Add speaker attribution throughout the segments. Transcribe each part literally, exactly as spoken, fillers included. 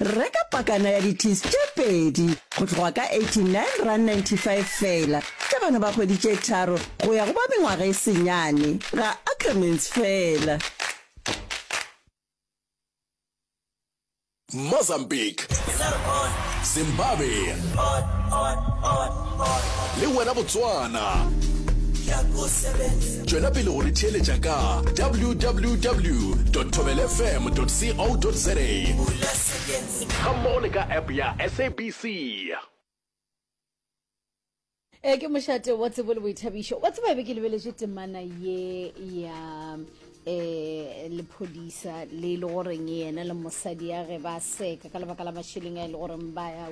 Speaker 1: Reka pakana ya di-tins tše pedi go tloga ka eighty-nine rand ninety-five feela, tša bana ba kgwedi tše tharo go ya go ba mengwaga e senyane, ga Ackermans feela.
Speaker 2: Mozambique, Zimbabwe le wena Botswana. Tšwela pele go re theeletša ka www dot thobelfm dot co dot za gammogo le ka app ya S A B C.
Speaker 3: E ke mošate wa tsebo le boithabišo. Wa tseba, be ke lebeletše temana ye ya eh lephodisa le le goreng yena le mosadi ya ge ba seka ka lebaka la mašeleng a e le goreng ba ya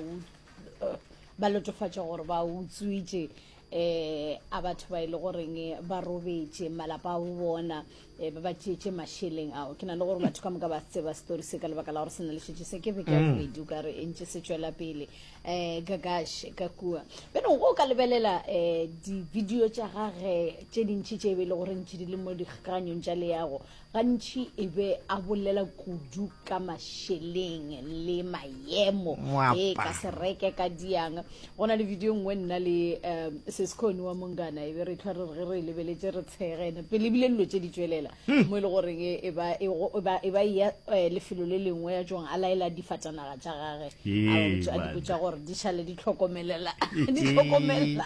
Speaker 3: ba lotofatša gore ba utswitše eh a batho ba e le goreng ba robetše malapa a bo bona, eh, ba ba tšeetše mašeleng ao. Ke na le gore batho ka moka ba tseba story se ka lebaka la gore se na le šetše se ke beke ya bobedi o ka re e ntše se tšwela pele um gagash ka kua. Bjanong o ka lebelela um di-video tša gage tše dintšhi tše e be e le gore ntši di le mo dikgakanyong tša leago, gantši e be a bolela kudu ka mašeleng le maemo e ka se reke ka diang. Go na le video nngwe nna le um sescone wa mongana e be re tlhwa re re ge re e lebeletše re tshegene pele ebile dilo tše di tšwelela mo e le goreng e ba e e ba ya lefelo le lengwe ya tšong a laela difatanaga tša gage a di botša gore di šale di tlhokomelela di tlhokomelane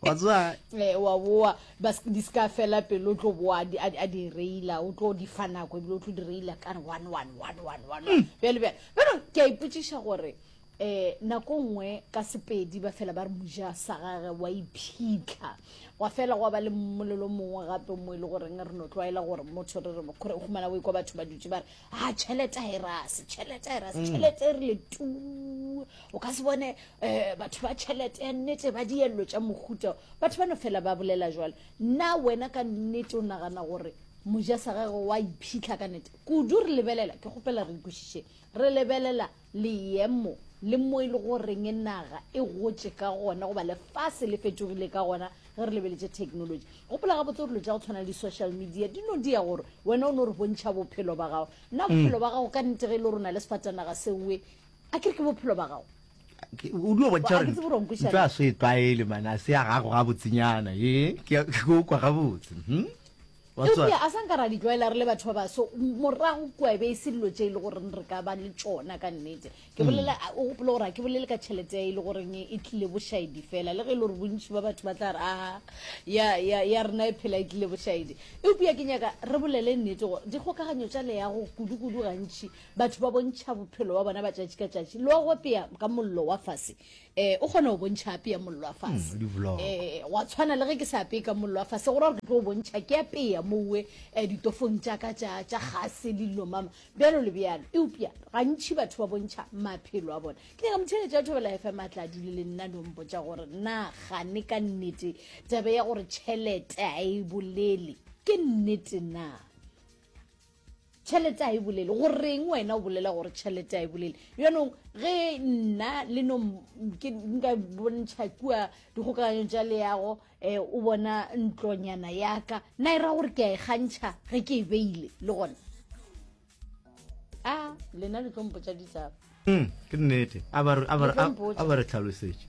Speaker 4: wa tseba
Speaker 3: wa boa ba di ska fela pele o tlo boa a di reila, o tlo di fa nako ebile o tlo di reila ka one one one one one one bjale bjale. Bjale ke a ipotšiša gore um nako nngwe ka Sepedi ba fela ba re moja sa gage wa iphitlha, gwa fela gwa ba le mmolelo mongwe gape mo e le goreng re no tlwaela gore motho re re o humana o ekwa batho ba dutše ba re a tšhelete a e rase, tšhelete a e rase, tšhelete e rile tu, o ka se bone um batho ba tšhelete ya nnete ba diello tša mohuta, batho ba no fela ba bolela jwalo. Nna wena ka nnete o nagana gore moja sa gage wa iphitlha ka nnete kudu? Re lebelela, ke kgopela re ikwešiše, re lebelela leemo le mo e le goreng naga e gotše ka gona goba lefase le fetogile ka gona ge re lebeletše technology. Gopola gabotse gore dilo tša go tshwana le di-social media di no dia gore wena o no re bontšha bophelo ba gago. Nna bophelo ba gago ka nnete ge e le gore o na le sefatanaga seoe, a ke re ke bophelo ba gago?
Speaker 4: O dio bontšha
Speaker 3: gore
Speaker 4: ntho a se e tlwaele man, a se ya gago gabotsenyana. E ke o kwa gabotse.
Speaker 3: Eupša a sa nka ra di tlwaela re le batho ba baso morago kua, e be e se dilo tše e le goreng re ka ba le tšona ka nnete. Ke bolela, o gopole gore ga ke bolele ka tšhelete e le goreng e tlile bošaedi fela, le ge e le gore bontši ba batho ba tla re a ya ya ya rena e phela e tlile bošaedi, eupša ke nyaka re bolele nnete gore dikgokaganyo tša leago kudu-kudu gantši batho ba bontšha bophelo ba bona ba tšatši ka tšatši. Le wa go apea ka mollo wa fase, um o kgona go bontšha apea mollo wa fase, um wa tshwana le ge ke sa apeye ka mollo wa fase, go ra gore ke tlo bontšha ke apea mowe um ditofong tša ka tša tša gase le dilo mama bjalo le bjalo. Eupša gantši batho ba bontšha maphelo a bona. Ke nyaka motheeletši wa Thobela F M a tla dule le nna no mpotša gore na gane ka nnete taba ya gore tšhelete a e bolele ke nnete na? Tšhelete a e bolele, goreng wena o bolela gore tšhelete a e bolele? Bjanong ge nna le no ke nka bontšha kua dikgokaganyong tša leago, um o bona ntlonyana yaka, na e ra gore ke a e kgantšha ge ke e beile le gona? A lena le tlo mpotša ditaba.
Speaker 4: Ke nnete, a ba re tlhalosetše,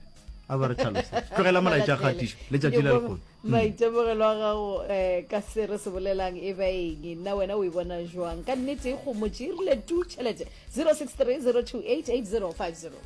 Speaker 4: a ba re tlhalosetše. Tlogela molaetša kgatišo letšatši la lekgono.
Speaker 3: Maitemogelo a gago um ka se re se bolelang e ba eng? Nna wena o e bona jwang ka nnete e kgomotše e rile tu tšhelete? zero six three zero two eight eight zero five zero.